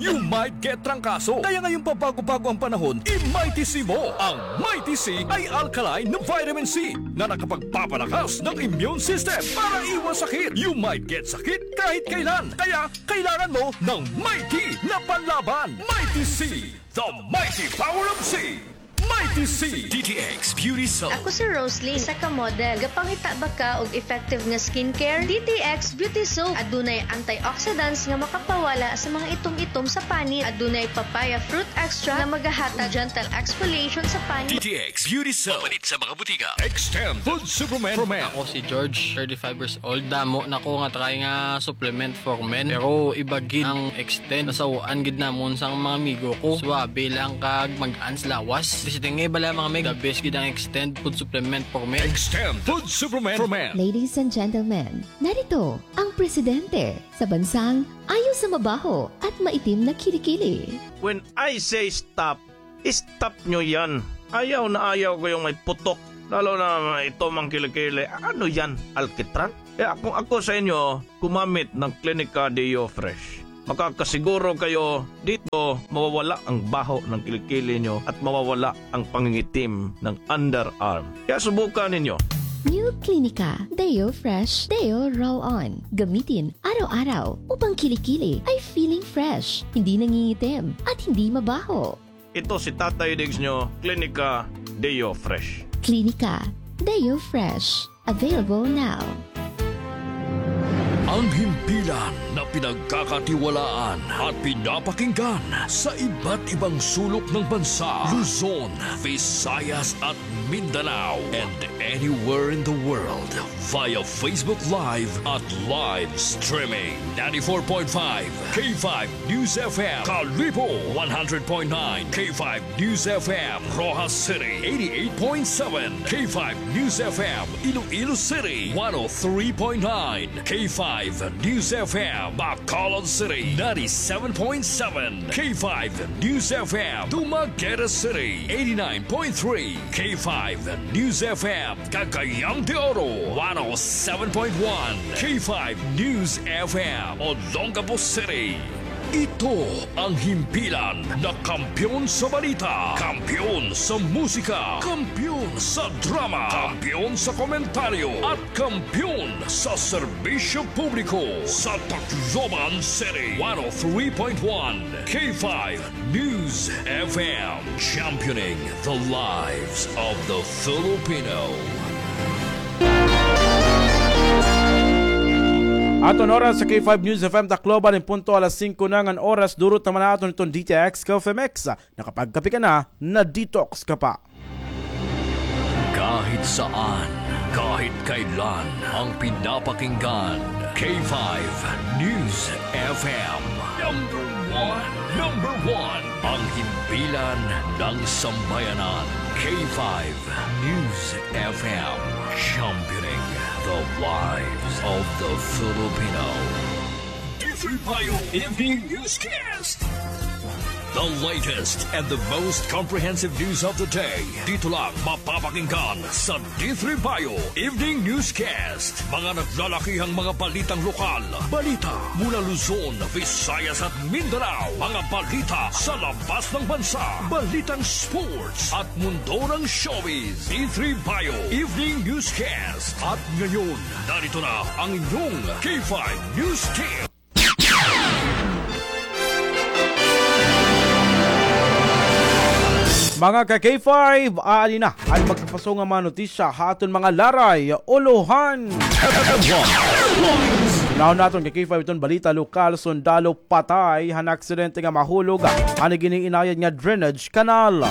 you might get trangkaso. Kaya ngayong pabago-bago ang panahon, i-Mighty C mo. Ang Mighty C ay alkaline na vitamin C na nakapagpapalakas ng immune system para iwas sakit. You might get sakit kahit kailan. Kaya kailangan mo ng Mighty na panlaban. Mighty C, the mighty power of C. Mighty C. D T X Beauty Soap. Ako si Rosalie, isa ka model. Gapangita ba ka og effective nga skincare? D T X Beauty Soap. Adunay antioxidants nga makapawala sa mga itom-itom sa panit. Adunay papaya fruit extract nga magahatag gentle exfoliation sa panit. D T X Beauty Soap. Mapalit sa mga butika. Extend Food Supplement for Men. Ako si George, thirty-five years old. Damo na ko nga try nga supplement for men. Pero iba gid ang extend. Nasaw-an gid namon sang mga amigo ko. Suabe lang kag mag-ans lawas. Visiting nga iba lang mga mig. The best gid ang extend food supplement for men. Extend Food Supplement for Men. Ladies and gentlemen, narito ang presidente sa bansang ayaw sa mabaho at maitim na kilikili. When I say stop, stop nyo yan. Ayaw na ayaw ko yung may putok. Lalo na ito mang kilikili. Ano yan? Alkitran? Kaya kung ako sa inyo, gumamit ng Clinica Deo Fresh. Makakasiguro kayo dito mawawala ang baho ng kilikili nyo at mawawala ang pangingitim ng underarm. Kaya subukan ninyo. New Clinica Deo Fresh Deo Roll On. Gamitin araw-araw upang kilikili ay feeling fresh, hindi nangingitim, at hindi mabaho. Ito si Tatay Diggs nyo, Klinika Deo Fresh. Klinika Deo Fresh. Available now. Ang himpilan na pinagkakatiwalaan at pinapakinggan sa iba't ibang sulok ng bansa, Luzon, Visayas at Mindanao, and anywhere in the world via Facebook Live at live streaming. Ninety-four point five K five News F M, Kalibo, one hundred point nine K five News F M, Roxas City, eighty-eight point seven K five News F M, Iloilo City, one oh three point nine K five News F M, Bacolod City, ninety-seven point seven K five News F M, Dumaguete City, eighty-nine point three K five News F M, Cagayan de Oro, one oh seven point one K five News F M, Olongapo City. Ito ang himpilan na kampiyon sa balita, kampiyon sa musika, kampiyon sa drama, kampiyon sa komentaryo, at kampiyon sa serbisyo publiko sa Tacloban City. One oh three point one K five News F M, championing the lives of the Filipino. Aton oras sa K five News F M Tacloban, in punto alas singko na ngan oras, durot naman aton iton D T X Coffee Mix. Nakapagkape ka na, na-detox ka pa. Kahit saan, kahit kailan, ang pinapakinggan, K five News F M. Number one, number one, ang himpilan ng sambayanan, K five News F M, championing the lives of the Filipino. D three Bayo Evening Newscast. The latest and the most comprehensive news of the day. Dito lang mapapakinggan sa D three Bayo Evening Newscast. Mga naglalakihang mga balitang lokal. Balita mula Luzon, Visayas at Mindanao. Mga balita sa labas ng bansa. Balitang sports at mundo ng showbiz. D three Bayo Evening Newscast. At ngayon, narito na ang inyong K five News Team. Mga ka-K five, aadi na an magkapasong nga mga notisya ha aton mga laray, ulohan. Unahon naton ka-K five iton balita lokal, sundalo patay han aksidente nga mahulog han gin-iinayad nga drainage canal.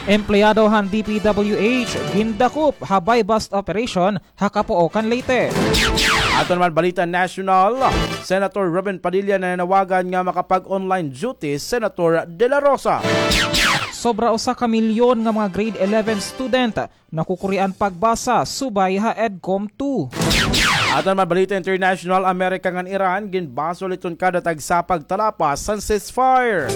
Empleyado han D P W H gindakop ha buy-bust operation ha Capoocan, Leyte. Aton naman balita nasyonal, Senator Robin Padilla nananawagan nga makapag-online duty Senator De La Rosa. Sobra usa ka milyon nga mga grade eleven student nakukurian pagbasa subay ha EDCOM two. Aton naman balita international, Amerika ngan Iran ginbasol iton kada tagsa pagtalapas han ceasefire.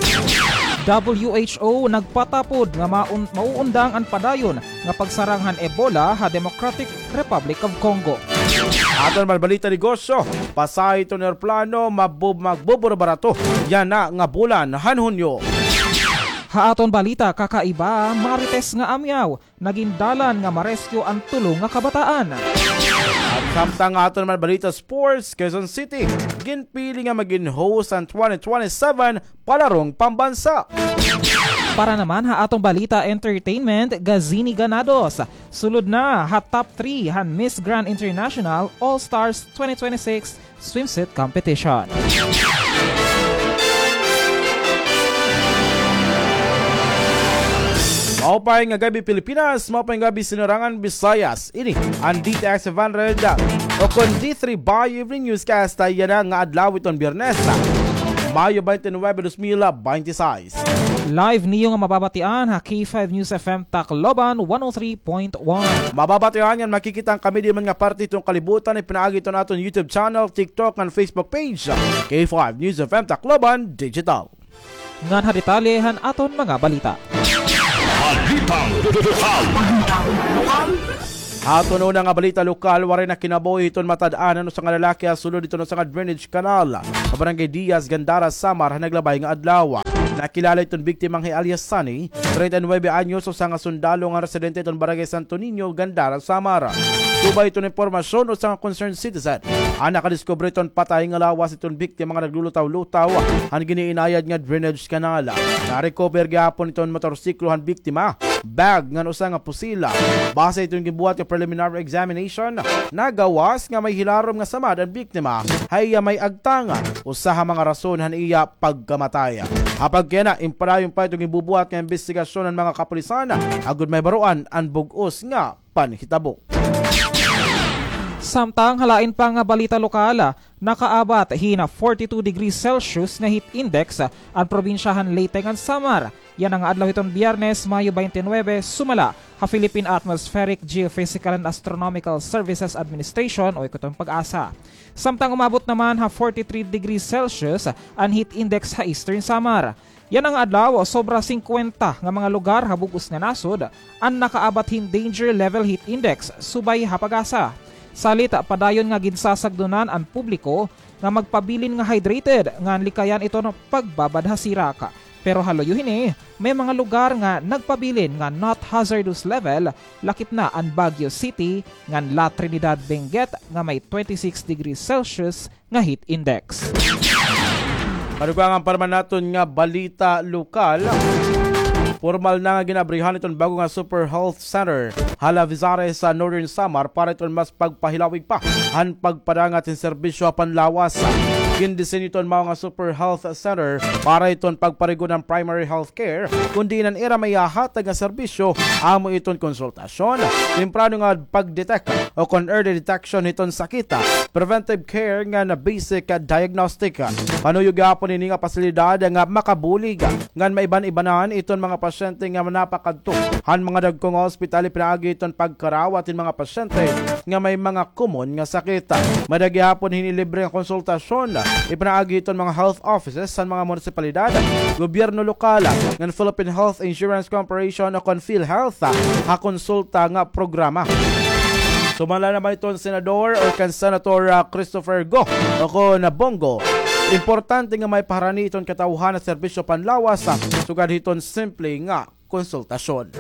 W H O nagpatapod nga maun-, mauundang an padayon nga pagsarang han Ebola ha Democratic Republic of Congo. Aton naman balita negosyo, pasahe iton eroplano mabub-, magbuburo-barato yana nga bulan han Hunyo. Ha aton balita kakaiba, Marites nga amyaw, nagin dalan nga ma-rescue an tulo nga kabataan. At samtang aton naman balita sports, Quezon City ginpili nga magin host han twenty twenty-seven Palarong Pambansa. Para naman ha atong balita entertainment, Gazini Ganados sulod na ha top three han Miss Grand International All Stars twenty twenty-six Swimsuit Competition. Maupay nga gab-i, Pilipinas. Maupay nga gab-i, Sinarangan Visayas. Ini an D T X five hundred, o kon D three Bayo Evening Newscast yana nga adlaw iton Biyernes, Mayo twenty-nine, dos mil binte y seis. Live niyo nga mababatian ha K five News F M Tacloban one oh three point one. Mababatian ngan makikita an kami diri man nga parte hiton kalibutan, ipinaagi hiton aton YouTube channel, TikTok, ngan Facebook page, K five News F M Tacloban Digital. Ngan ha detalye han aton mga balita. Balitang lokal. Aton una nga balita lokal, waray na kinabuhi hiton matad-an an usa nga lalaki ha sulod hiton usa nga drainage canal ha Barangay Diaz, Gandara, Samar, han naglabay nga adlaw. Nakilala iton biktima nga hi alias Sunny, treinta y nueve anyos, usa nga sundalo nga residente hiton Barangay Santo Niño, Gandara, Samar. Subay hiton impormasyon, usa nga concerned citizen an nakadiskubre hiton patay nga lawas hiton biktima nga naglulutaw-lutaw han gin-iinayad nga drainage canal. Na-recover gihapon hiton motorsiklo han biktima bag ngan usa nga pusil. Base hiton ginbuhat nga preliminary examination, nagawas nga may hilarom nga samad an biktima ha iya may agtang, usa ha mga rason han iya pagkamatay. Apagkay yana, impadayon pa hiton ginbubuhat nga imbestigasyon han mga kapulisan agod mahibaroan an bug-os nga panhitabo. Samtang ha lain pa nga balita lokal, nakaabat hin forty-two degrees Celsius nga heat index an probinsya han Leyte ngan Samar. Yana nga adlaw hiton Biyernes, Mayo twenty-nine, sumala ha Philippine Atmospheric, Geophysical and Astronomical Services Administration o ikaw hiton PAGASA. Samtang umabot naman ha forty-three degrees Celsius an heat index ha Eastern Samar. Yana nga adlaw, sobra singkwenta nga mga lugar ha bug-os nga nasod an nakaabat hin danger level heat index subay ha PAGASA. Salit, padayon nga ginsasagdonan an publiko nga magpabilin nga hydrated ngan likayan iton pagbabad ha sirak. Pero ha luyo hini, may mga lugar nga nagpabilin nga not hazardous level, lakip na an Baguio City ngan La Trinidad, Benguet nga may twenty-six degrees Celsius nga heat index. Madugangan pa naman naton nga balita lokal. Pormal na nga gin-abrihan iton bag-o nga Super Health Center ha Lavizares sa Northern Samar para iton mas pagpahilawig pa han pagpadangat hin serbisyo ha panlawas. Gindisenyo iton mao nga Super Health Center para iton pagparigon han primary health care, kon diin an ira maihahatag nga serbisyo amo iton konsulta- -syon, temprano nga pag-detect o kon early detection hiton sakit, preventive care ngan basic diagnostic. Panuyo gihapon hini nga pasilidad nga makabulig ngan maiban-ibanan iton mga pasyente nga napakadto han mga dagko nga ospital pinaagi hiton pagkarawat hin mga pasyente nga may mga komon nga sakit. May-ada gihapon hini libre nga konsultasyon ipinaagi hiton mga health offices han mga munisipalidad, gobyerno lokal, ngan Philippine Health Insurance Corporation o kon PhilHealth, ah, ha konsulta nga programa. Sumala naman iton senador o kan Senator, ah, Christopher Go o kon Bong Go, importante nga maipaharani iton katawhan nga serbisyo panlawas, ah, sugad hiton simple nga konsultasyon.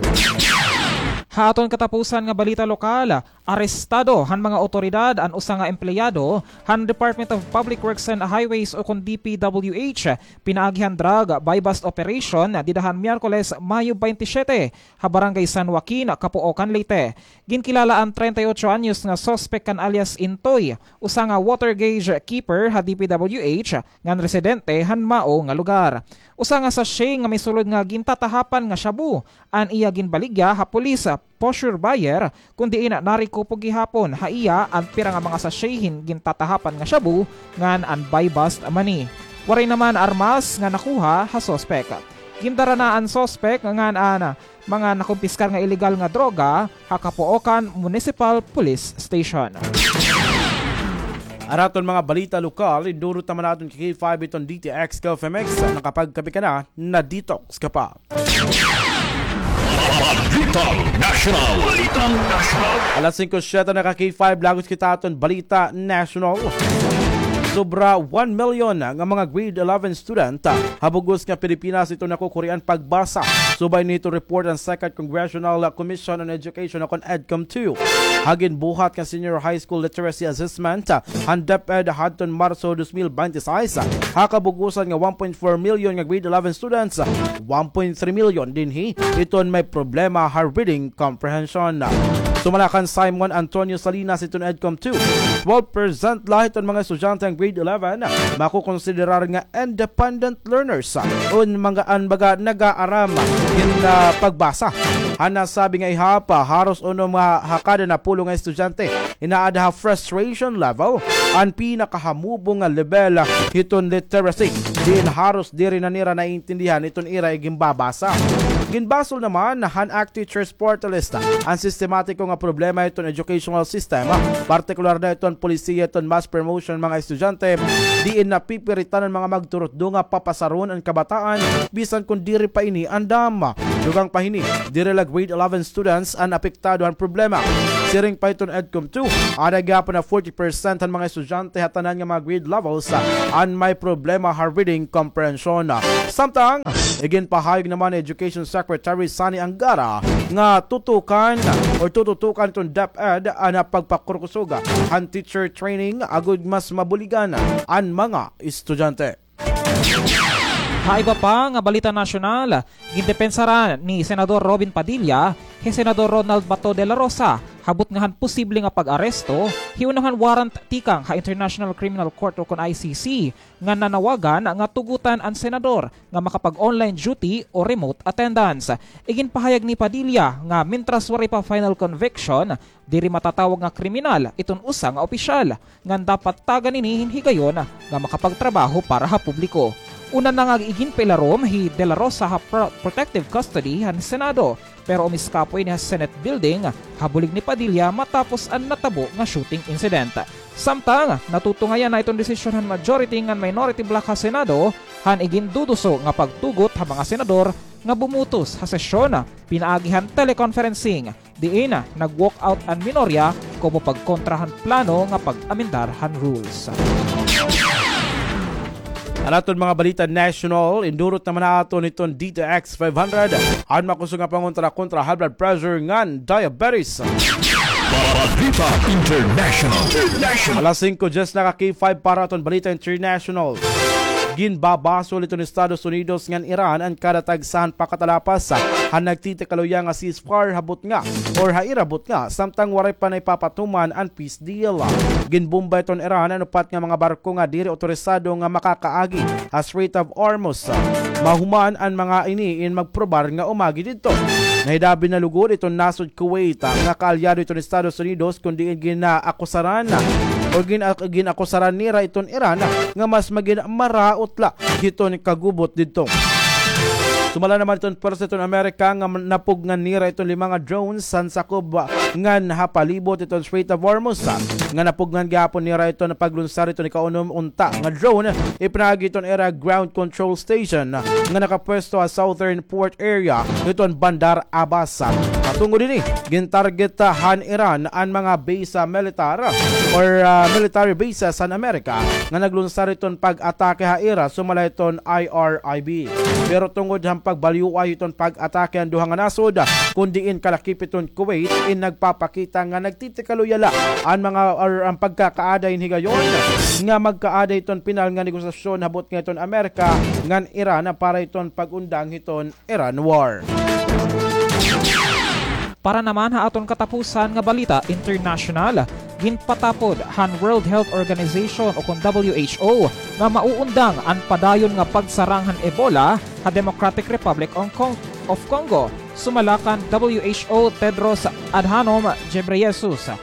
Ha aton katapusan nga balita lokal, arestado han mga awtoridad an usa nga empleyado han Department of Public Works and Highways o kon D P W H pinaagi han drug buy-bust operation dida han Miyerkules, Mayo twenty-seven, ha Barangay San Joaquin, Capoocan, Leyte. Ginkilala an treinta y ocho anyos nga suspek kan alias Intoy, usa nga water gauge keeper ha D P W H ngan residente han mao nga lugar. Usa nga sachet nga may sulod nga gintatahapan nga shabu an iya ginbaligya ha pulis, poseur buyer, kon diin narekupo gihapon ha iya an pira nga mga sachet hin gintatahapan nga shabu ngan an buy-bust money. Waray naman armas nga nakuha ha suspek. Gindara na an suspek ngan an mga nakumpiskar nga ilegal nga droga ha Capoocan Municipal Police Station. An aton mga balita lokal, idurot naman naton K five iton D T X K F M X. Nakapagkape ka na, na-detox ka pa. Balitang Nasyonal. Balitang Nasyonal. Alas singko siyete na ka K five, lagos kita aton Balita Nasyonal. Sobra one million nga mga grade eleven student ha bug-os nga Pilipinas iton nakukurian pagbasa. Subay hini report han Second Congressional Commission on Education o kon EDCOM two. Ha ginbuhat nga Senior High School Literacy Assessment han DepEd hadton Marso dos mil binte y seis, ha kabug-osan nga one point four million nga grade eleven students, one point three million dinhi iton may problema ha reading comprehension. Sumala kan Simon Antonio Salinas iton EDCOM two, twelve percent la hiton mga estudyante han grade eleven makokonsiderar nga independent learners, o mga an baga nag-aaram hin, ah, pagbasa. Han nasabi nga ihap, haros unom ha kada napulo nga estudyante inaada ha frustration level, an pinakahamubo nga lebel hiton literacy, diin haros diri na nira naiintindihan iton ira iginbabasa. Ginbasol naman han ACT Teachers Party List an sistematiko nga problema hiton educational system, partikular na hiton polisiya hiton mass promotion mga estudyante, diin napipiritan an mga magturutdo nga papasaron an kabataan bisan kon diri pa ini andam. Dugang pa hini, diri la grade eleven students an apektado han problema. Siring pa hiton EDCOM two, ada gihapon na forty percent han mga estudyante ha tanan nga mga grade levels an may problema ha reading comprehension. Samtang, iginpahayag naman ni Education Secretary Sonny Angara nga tutukan o tututukan hiton DepEd an pagpakurkusog han teacher training agod mas mabuligan an mga estudyante. Ha iba pa nga balita nasyonal, gindepensaran ni Senador Robin Padilla hi Senador Ronald Bato de la Rosa ha butnga han posible nga pag-aresto, hiunong han warrant tikang ha International Criminal Court ukon I C C, nga nanawagan nga tugotan an senador nga makapag-online duty o remote attendance. Iginpahayag ni Padilla nga mintras waray pa final conviction, diri matatawag nga kriminal iton usa nga opisyal, ngan dapat tagan ini hin higayon nga makapagtrabaho para ha publiko. Una na nga iginpailarom hi De La Rosa ha pro-, protective custody han Senado, pero umiskapo ini ha Senate building ha bulig ni Padilla matapos an natabo nga shooting incident. Samtang, natutungayan na iton desisyon han majority ngan minority bloc ha Senado han iginduduso nga pagtugot ha mga senador nga bumutos ha sesyon pinaagi han teleconferencing, diin nag-walkout an minorya komo pagkontra han plano nga pag-amendar han rules. An aton mga balita national, indurot naman naton iton D T X five hundred, an makusog nga pangontra kontra high blood pressure ngan diabetes. Balita International. Alas singko dyes na ka K five para aton balita international. Ginbabasol iton Estados Unidos ngan Iran an kada tagsa han pakatalapas han nagtitikaluya nga ceasefire ha butnga or ha ira butnga, samtang waray pa naipapatuman an peace deal. Ginbomba iton Iran an upat nga mga barko nga diri otorisado nga makakaagi ha Strait of Hormuz. Mahuman an mga ini in magprobar nga umagi didto. Nahidabi na lugod iton nasod Kuwait nga kaalyado iton Estados Unidos, kundi in ginaakusaran o gina-, ginakusaran nira iton Iran nga mas magin maraot la hiton kagubot didto. Sumala naman iton pwersa iton Amerika nga napugngan nira iton lima nga drones han sakob ngan ha palibot iton Strait of Hormuz, nga napugngan gihapon nira iton paglunsar iton ikaunom unta nga drone ipinaagi iton ira ground control station nga nakapwesto ha southern port area hiton Bandar Abbas. Matungod ini, gintarget han Iran an mga base, ah, militar or, ah, military bases han Amerika nga naglunsar iton pag-atake ha ira, sumala iton I R I B. Pero tungod han pagbalyuay iton pag-atake han duha nga nasod, kun diin kalakip iton Kuwait in nagpapakita nga nagtitikaluya la an mga or an pagkakaaday hin higayon nga magkaaday iton pinal nga negosasyon ha butnga iton Amerika ngan Iran para iton pag-undang hiton Iran war. Para naman ha aton katapusan nga balita international, ginpatapod han World Health Organization ukon W H O nga mauundang an padayon nga pagsarang han Ebola ha Democratic Republic of Con-, of Congo, sumala kan W H O Tedros Adhanom Ghebreyesus.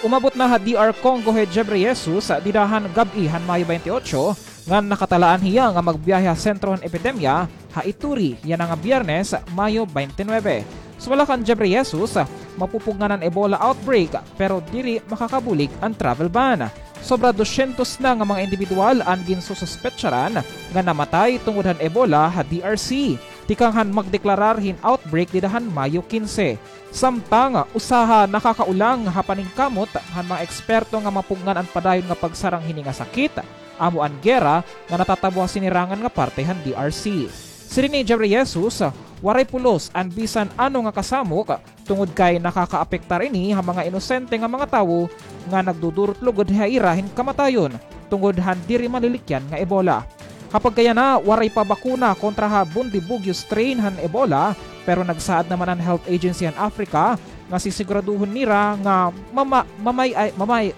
Umabot na ha D R Congo hi Ghebreyesus dida han gab-i han Mayo twenty-eight, ngan nakatalaan hiya nga magbiyahe ha sentro han epidemya ha Ituri yana nga Biyernes, Mayo twenty-nine. Sumala kan Ghebreyesus, mapupugngan an Ebola outbreak pero diri makakabulig an travel ban. Sobra dosyentos na nga mga indibidwal an ginsususpetsaran nga namatay tungod han Ebola ha D R C tikang han magdeklarar hin outbreak dida han Mayo quince. Samtang usa ha nakakaulang ha paningkamot han mga eksperto nga mapugngan an padayon nga pagsarang hini nga sakit, amo an gera nga natatabo ha sinirangan nga parte han D R C. Siring ni Ghebreyesus, waray pulos an bisan ano nga kasamok tungod kay nakakaapektar ini ha mga inosente nga mga tawo nga nagdudurot lugod ha ira hin kamatayon tungod han diri malilikyan nga Ebola. Ha pagkayana, waray pa bakuna kontra ha Bundibugyo strain han Ebola, pero nagsaad naman an Health Agency han Africa nga sisiguraduhon nira nga mama-, mamay-, ay, mamay-,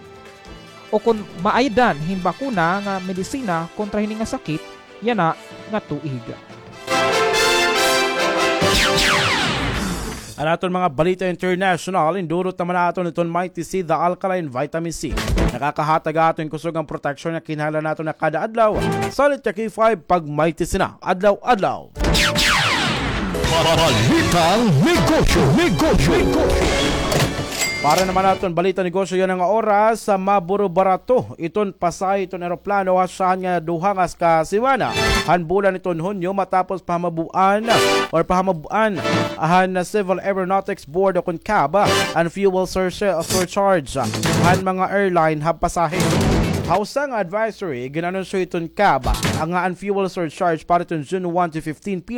o kon maaydan hin bakuna nga medisina kontra hini nga sakit yana nga tuig. An aton mga balita international, indurot naman naton iton Mighty C, the alkaline vitamin C. Nakakahatag aton kusog nga proteksyon nga kinahanglan naton ha kada adlaw. Salit ka K five pag Mighty C na adlaw-adlaw. Balitang negosyo, negosyo, negosyo. Para naman naton balita negosyo yana nga oras, sa maburo-barato iton pasahe iton eroplano ha syahan nga duha nga ka semana han bulan iton Hunyo, matapos pahamabug-an or pahamabug-an han Civil Aeronautics Board o kon cab an fuel sur-, surcharge han mga airline ha pasahe. Ha usa nga advisory, gin-anunsyo iton cab nga an fuel surcharge para iton June one to fifteen P